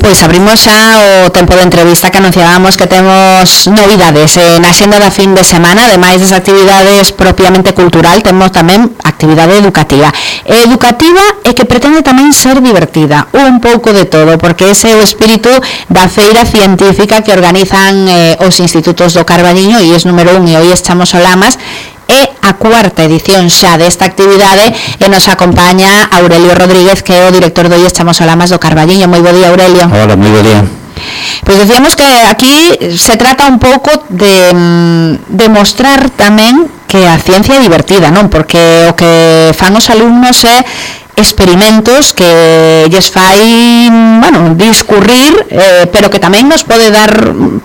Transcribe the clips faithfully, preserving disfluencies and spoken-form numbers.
Pois abrimos xa o tempo de entrevista que anunciábamos que temos novidades eh, na xenda da fin de semana. Ademais das actividades propiamente cultural, temos tamén actividade educativa educativa e que pretende tamén ser divertida, un pouco de todo, porque ese é o espírito da feira científica que organizan eh, os institutos do Carballiño, e es número un, e hoy estamos o Lamas. É a cuarta edición xa desta actividade e nos acompaña Aurelio Rodríguez, que é o director do I E S Chamosolamas do Carballiño. Moi bo día, Aurelio. Hola, moi bo día. Pois decíamos que aquí se trata un pouco de demostrar tamén que a ciencia é divertida, non? Porque o que fan os alumnos é experimentos que lles fai, bueno, discurrir, eh, pero que tamén nos pode dar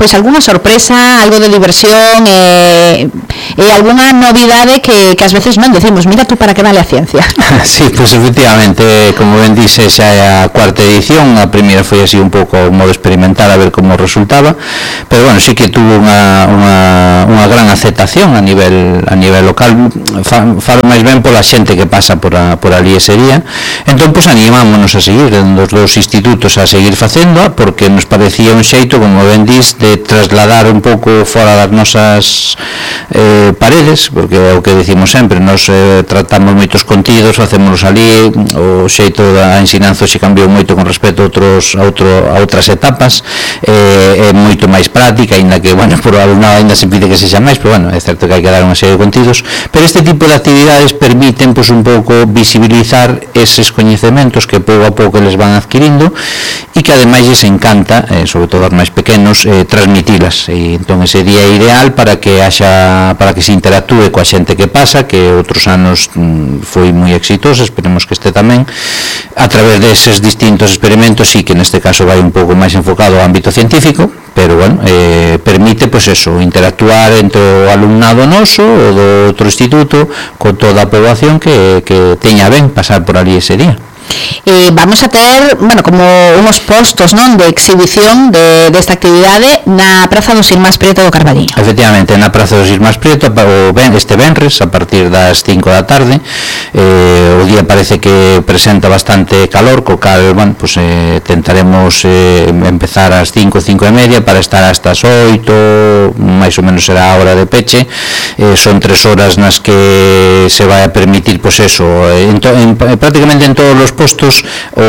pois algunha sorpresa, algo de diversión e, e algunha novidade que, que ás veces non decimos, mira tú para que vale a ciencia. Sí, pois efectivamente, como ben dice, xa é a cuarta edición. A primeira foi así un pouco modo experimental a ver como resultaba, pero bueno, sí que tuvo unha, unha, unha gran aceptación a nivel a nivel local. Falo máis ben pola xente que pasa por, a, por ali ese día. Entón, pois, animámonos a seguir dos dos institutos a seguir facendo, porque nos parecía un xeito, como ben dis, de trasladar un pouco fora das nosas eh, paredes, porque é o que decimos sempre, nos eh, tratamos moitos contidos, facémonos ali, o xeito da ensinanza xe cambiou moito con respecto a, outros, a, outro, a outras etapas, eh, é moito máis práctica, ainda que, bueno, por alumnado ainda se pide que sexa máis, pero bueno, é certo que hai que dar unha serie de contidos, pero este tipo de actividades permiten, pois, un pouco visibilizar eses coñecementos que pouco a pouco les van adquirindo e que ademais lles encanta, eh, sobre todo aos máis pequenos, eh, transmitilas, e entón ese día é ideal para que haxa, para que se interactúe coa xente que pasa, que outros anos mm, foi moi exitoso, esperemos que este tamén, a través deses distintos experimentos, sí que neste caso vai un pouco máis enfocado ao ámbito científico, pero bueno, eh, permite, pois eso, interactuar entre o alumnado noso ou do outro instituto con toda a poboación que, que teña ben pasar por ali ese día. Eh, vamos a ter, bueno, como unos postos, non, de exhibición de desta actividade na Praza dos Irmáns Prieto do Carballiño. Efectivamente, na Praza dos Irmáns Prieto o ben, este venres a partir das cinco da tarde. Eh, o día parece que presenta bastante calor, co cal, bueno, pues, eh, tentaremos eh, empezar ás cinco, cinco e media para estar hasta as oito, máis ou menos será a hora de peche. Eh, son tres horas nas que se vai a permitir, pues eso, en to, en, prácticamente en todos os postos o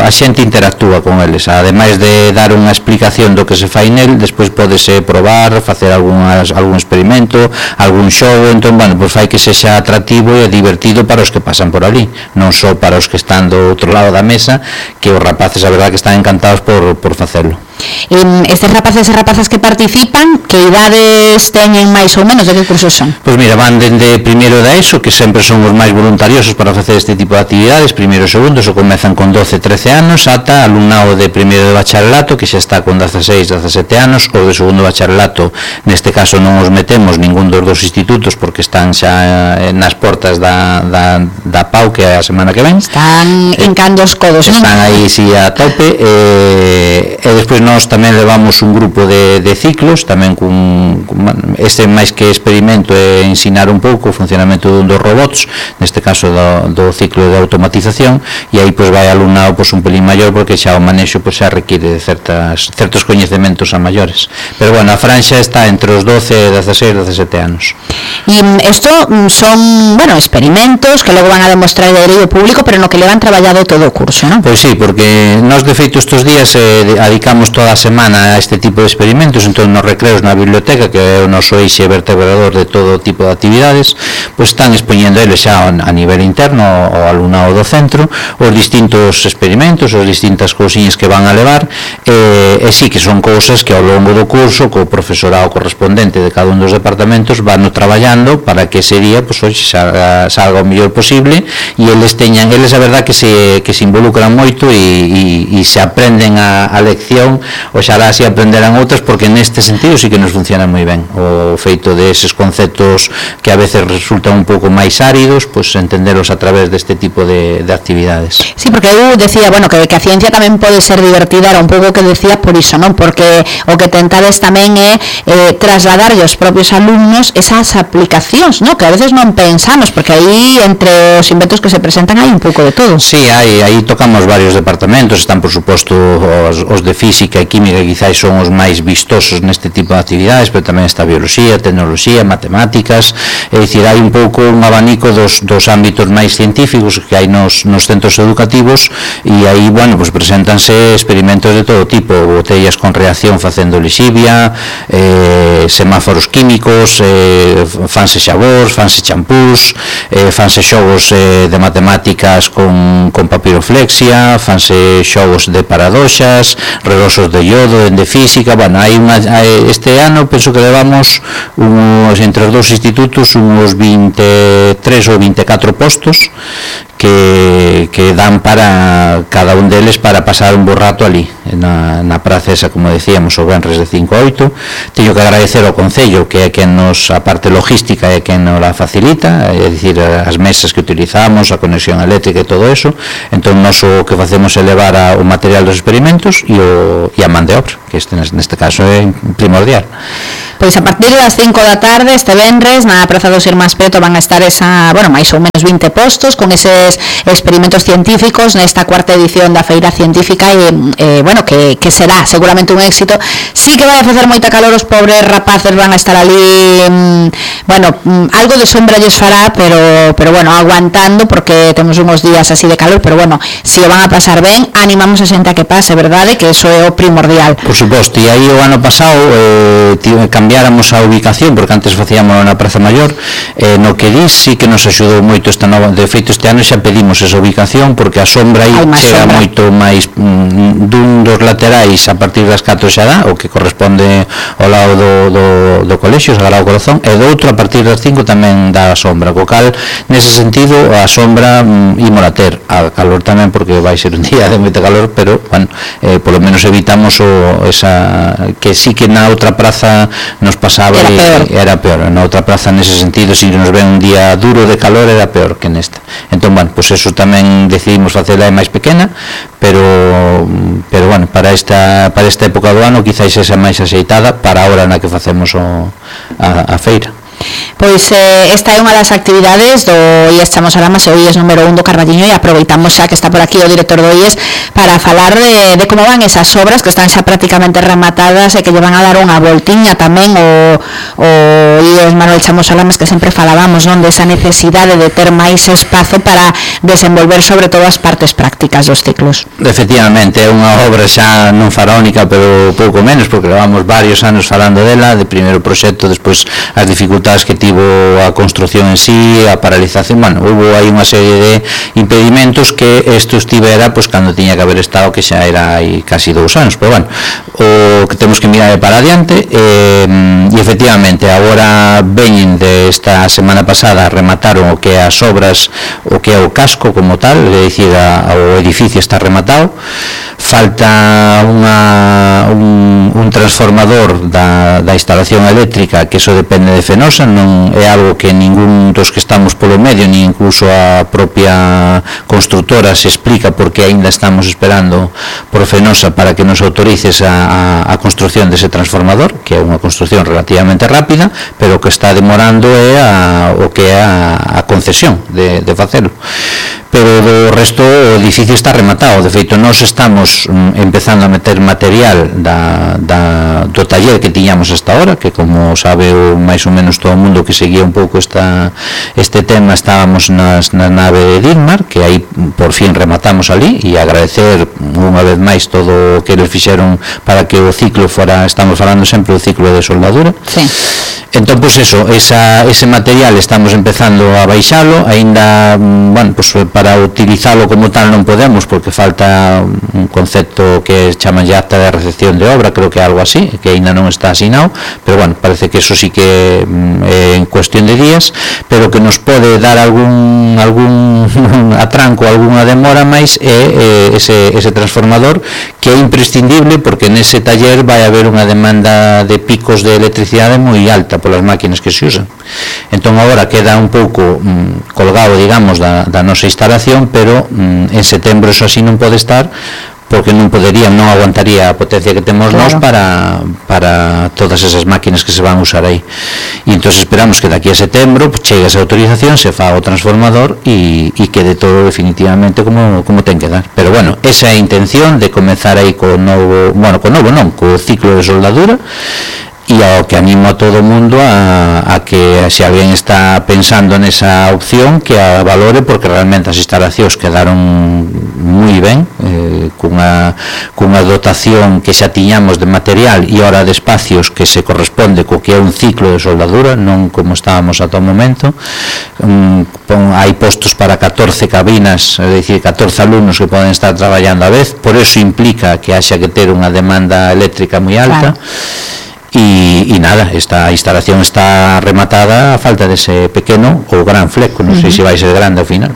a xente interactúa con eles, ademais de dar unha explicación do que se fai nel, despois podese probar, facer algunhas, algún experimento, algún xogo. Entón, bueno, pues fai que sexa atractivo e divertido para os que pasan por ali, non só para os que están do outro lado da mesa, que os rapaces, a verdad, que están encantados por, por facelo. En estes rapaces e rapazas que participan, que idades teñen máis ou menos, de que cursos son? Pois mira, van dende primeiro da ESO, que sempre son os máis voluntariosos para facer este tipo de actividades, primeiro e segundo, so comezan con doce, trece anos, ata alumnado de primeiro de bacharelato, que xa está con dezaseis, dezasete anos, ou de segundo bacharelato, neste caso non os metemos ningún dos dos institutos, porque están xa nas portas da, da, da P A U, que é a semana que ven. Están hincando os codos, non? Están aí, si, a tope, e, e despois nós tamén levamos un grupo de, de ciclos, tamén con, con este máis que experimento é ensinar un pouco o funcionamento dos robots, neste caso do, do ciclo de automatización, e aí pois vai alumnado pois un pelín maior, porque xa o manexo pois xa require de certas, certos coñecementos a maiores, pero bueno, a franxa está entre os doce e dezaseis, dezasete anos. E isto son, bueno, experimentos que logo van a demostrar de eido público, pero no que levan traballado todo o curso, non? Pois sí, porque nós de feito estes días eh, dedicamos toda a semana a este tipo de experimentos, entón nos recreos na biblioteca, que é o noso eixe vertebrador de todo tipo de actividades, pois están expoñendo eles xa a nivel interno ao alumnado do centro os distintos experimentos, as distintas cousiñas que van a levar, e, e sí que son cousas que ao longo do curso co profesorado correspondente de cada un dos departamentos van traballando para que ese día pois, hoxe salga, salga o mellor posible, e eles teñan, eles a verdad que se, que se involucran moito e, e, e se aprenden a, a lección oxalá así aprenderan outras, porque neste sentido sí que nos funciona moi ben o feito de eses conceptos que a veces resultan un pouco máis áridos, pois pues, entenderos a través deste tipo de, de actividades. Sí, porque eu decía, bueno, que, que a ciencia tamén pode ser divertida, era un pouco que decía por iso, non? Porque o que tentades tamén é eh, trasladar aos propios alumnos esas aplicacións, non? Que a veces non pensamos, porque aí entre os inventos que se presentan hai un pouco de todo. Sí, hai, aí tocamos varios departamentos, están por suposto os, os de física e química, que quizás son os máis vistosos neste tipo de actividades, pero tamén está biología, tecnoloxía, matemáticas, é dicir, hai un pouco un abanico dos, dos ámbitos máis científicos que hai nos, nos centros educativos, e aí, bueno, pues preséntanse experimentos de todo tipo, botellas con reacción facendo lixivia, eh, semáforos químicos, eh, fanse xabóns, fanse champús, eh, fanse xogos eh, de matemáticas con, con papiroflexia, fanse xogos de paradoxas, reloxos de iodo, de física. Bueno, hai unha, hai, este ano penso que levamos uns, entre os dous institutos uns vinte e tres ou vinte e catro postos que, que dan para cada un deles para pasar un bo rato ali na, na praza esa, como decíamos, o venres de cinco a oito. Teño que agradecer ao Concello, que é quen nos, a parte logística é quen nos la facilita, é dicir, as mesas que utilizamos, a conexión eléctrica e todo eso. Entón, nos o que facemos é levar a, o material dos experimentos e, o, e a man de obra, que este, neste caso é primordial. Pois a partir das cinco da tarde este venres na Praza dos Irmáns Preto van a estar esa, bueno, máis ou menos vinte postos con eses experimentos científicos nesta cuarta edición da Feira Científica e, eh, bueno, que, que será seguramente un éxito. Sí que vai a facer moita calor, os pobres rapaces van a estar ali, mm, bueno, mm, algo de sombra lles fará, pero, pero bueno, aguantando, porque temos uns días así de calor, pero bueno, si o van a pasar ben, animamos a xente a que pase, verdade? Que eso é o primordial. Por suposto, e aí o ano pasado eh, cambiáramos a ubicación, porque antes facíamos na Praza Maior, eh, no que dis sí que nos axudou moito esta nova, de feito este ano xa pedimos esa ubicación, porque a sombra aí chega sombra. moito máis mm, dun dos laterais a partir das catro xa dá, o que corresponde ao lado do, do, do colexio, Sagrado Corazón, e do outro a partir das cinco tamén dá a sombra, co cal nese sentido a sombra mm, imola ter, a calor tamén, porque vai ser un día de moita calor, pero bueno, eh, polo menos evitamos o, esa, que sí que na outra praza nos pasaba era e peor. era peor, na outra praza nese sentido, se si nos ven un día duro de calor era peor que nesta. Entón, bueno, pois pues eso tamén decidimos facela máis pequena, pero pero bueno, para esta para esta época do ano quizás esa máis axeitada para a hora na que facemos o, a, a feira. Pois eh, esta é unha das actividades do I E S Chamosarama, o I E S número un do Carballiño, e aproveitamos xa que está por aquí o director do I E S para falar de, de como van esas obras que están xa prácticamente rematadas e que lle van a dar unha voltiña tamén o, o I E S Manuel Chamosalamas, que sempre falábamos, non, desa necesidade de ter máis espazo para desenvolver sobre todo as partes prácticas dos ciclos. Efectivamente, é unha obra xa non faraónica, pero pouco menos, porque levamos varios anos falando dela, de primeiro proxecto, despois as dificultades que tivo a construción en sí, a paralización, bueno, houve aí unha serie de impedimentos que isto estivera, pois, cando tiña que haber estado, que xa era aí casi dous anos, pero bueno, o que temos que mirar é para adiante, e, e efectivamente, agora veñen de esta semana pasada, remataron o que é as obras, o que é o casco como tal, é dicir, a, o edificio está rematado, falta unha, un, un transformador da, da instalación eléctrica, que eso depende de Fenosa, non é algo que ningún dos que estamos polo medio, ni incluso a propia constructora se explica porque aínda estamos esperando por Fenosa para que nos autorices a, a, a construción dese transformador, que é unha construcción relativamente rápida, pero que está demorando é a, o que é a, a concesión de, de facelo. Pero do resto o edificio está rematado. De feito, nós estamos mm, empezando a meter material da, da, do taller que tiñamos hasta ahora, que como sabe o, máis ou menos todo o mundo que seguía un pouco esta, este tema, estábamos nas, na nave de Dilmar, que aí por fin rematamos ali, e agradecer unha vez máis todo o que eles fixeron para que o ciclo fora, estamos falando sempre do ciclo de soldadura. Sí. Entón, pois pues eso, esa, ese material estamos empezando a baixalo, aínda, bueno, pois pues, para utilizalo como tal non podemos, porque falta un concepto que chaman ya acta de recepción de obra, creo que algo así, que ainda non está asinado, pero bueno, parece que eso sí que é en cuestión de días, pero que nos pode dar algún algún atranco, algunha demora máis é ese, ese transformador, que é imprescindible porque nese taller vai haber unha demanda de picos de electricidade moi alta polas máquinas que se usan. Entón agora queda un pouco mm, colgado, digamos, da, da nosa instalación, pero mm, en setembro eso así non pode estar, porque non poderían, non aguantaría a potencia que temos claro. nós para, para todas esas máquinas que se van a usar aí. E entón esperamos que daqui a setembro pues, chegue esa autorización, se fa o transformador e, e quede todo definitivamente como, como ten que dar. Pero bueno, esa é a intención de comenzar aí co novo, bueno, co novo non, co ciclo de soldadura, e ao que animo a todo o mundo a, a que se alguén está pensando nesa opción que a valore, porque realmente as instalacións quedaron moi ben, eh, cunha, cunha dotación que xa tiñamos de material e hora de espacios que se corresponde co que é un ciclo de soldadura, non como estábamos ata o momento. um, pon, hai postos para catorce cabinas, é dicir, catorce alumnos que poden estar traballando a vez, por eso implica que haxa que ter unha demanda eléctrica moi alta. Claro. E, e nada, esta instalación está rematada a falta dese pequeno ou gran fleco, non sei uh -huh. se vai ser grande ao final.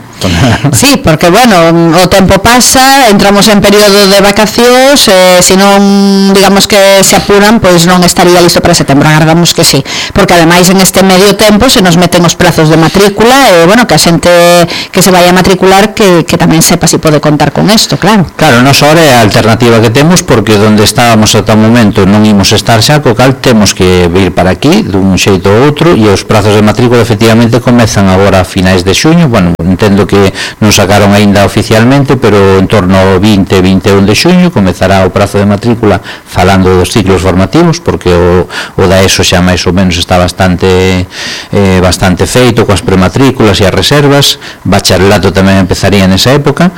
Sí, porque bueno, o tempo pasa, entramos en período de vacacións, eh, se non, digamos que se apuran, pois non estaría listo para setembro, agardamos que sí, porque ademais en este medio tempo se nos meten os prazos de matrícula, e eh, bueno, que a xente que se vai a matricular que, que tamén sepa se si pode contar con isto, claro. Claro, nos ahora é a alternativa que temos, porque donde estábamos ata o momento non imos estar xa, co cal temos que vir para aquí dun xeito ou outro, e os prazos de matrícula efectivamente comezan agora a finais de xuño. Bueno, entendo que non sacaron aínda oficialmente, pero en torno ao vinte, vinte e un de xuño comezará o prazo de matrícula, falando dos ciclos formativos, porque o, o da ESO xa máis ou menos está bastante eh, bastante feito coas prematrículas e as reservas. Bacharelato tamén empezaría nesa época.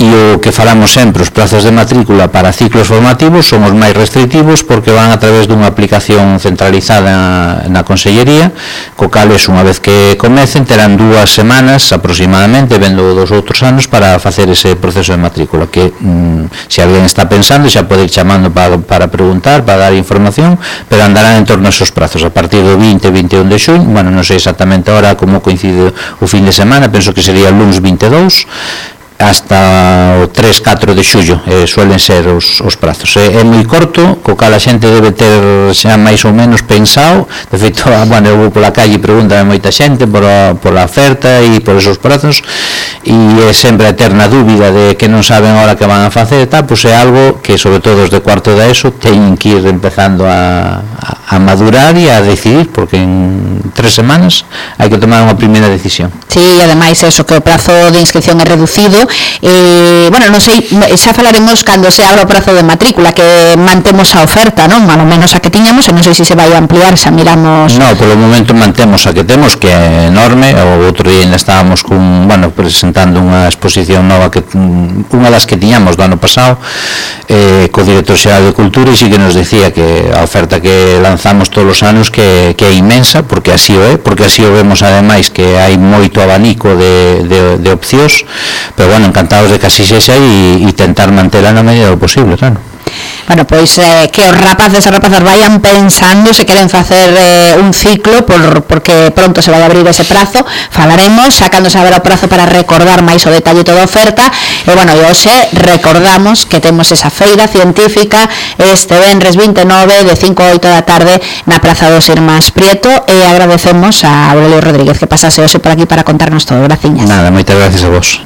E o que falamos sempre, os prazos de matrícula para ciclos formativos son os máis restrictivos, porque van a través dunha aplicación centralizada na Consellería, co cal es, unha vez que comecen, terán dúas semanas aproximadamente, vendo dos outros anos, para facer ese proceso de matrícula, que mm, se alguén está pensando xa pode ir chamando para, para preguntar, para dar información, pero andarán en torno a esos prazos a partir do vinte, vinte e un de xuño. Bueno, non sei exactamente ahora como coincide o fin de semana, penso que sería o lunes vinte e dous hasta o tres, catro de xullo, eh, suelen ser os, os prazos. É, é moi corto, co cal a xente debe ter xa máis ou menos pensado. De feito, bueno, eu vou pola calle e pregúntame moita xente por a, por a oferta e por esos prazos, e é sempre a eterna dúbida de que non saben ahora que van a facer, tal, pois é algo que, sobre todo os de cuarto da ESO, teñen que ir empezando a, a, a madurar e a decidir, porque en tres semanas hai que tomar unha primeira decisión. Sí, e ademais eso, que o prazo de inscripción é reducido. Eh, bueno, non sei, xa falaremos cando se abra o prazo de matrícula, que mantemos a oferta, non? Malo menos a que tiñamos, e non sei se se vai a ampliar, xa miramos. No, polo momento mantemos a que temos, que é enorme. O outro día ainda estábamos con, bueno, presentando unha exposición nova, que unha das que tiñamos do ano pasado, eh, co director xeral de Cultura, e sí que nos decía que a oferta que lanzamos todos os anos que, que é inmensa, porque así o é, porque así o vemos ademais, que hai moito abanico de, de, de opcións, pero bueno, encantados de que así sexa e, e tentar mantela na medida do posible, claro. Bueno, pois eh, que os rapaces e rapazas vayan pensando se queren facer eh, un ciclo, por, porque pronto se vai abrir ese prazo. Falaremos, sacando se abra o prazo para recordar máis o detalle toda a oferta. E bueno, e hoxe recordamos que temos esa feira científica este venres vinte e nove de cinco a oito da tarde na Praza dos Irmáns Prieto, e agradecemos a Aurelio Rodríguez que pasase hoxe por aquí para contarnos todo. Graciñas. Nada, moitas gracias a vos.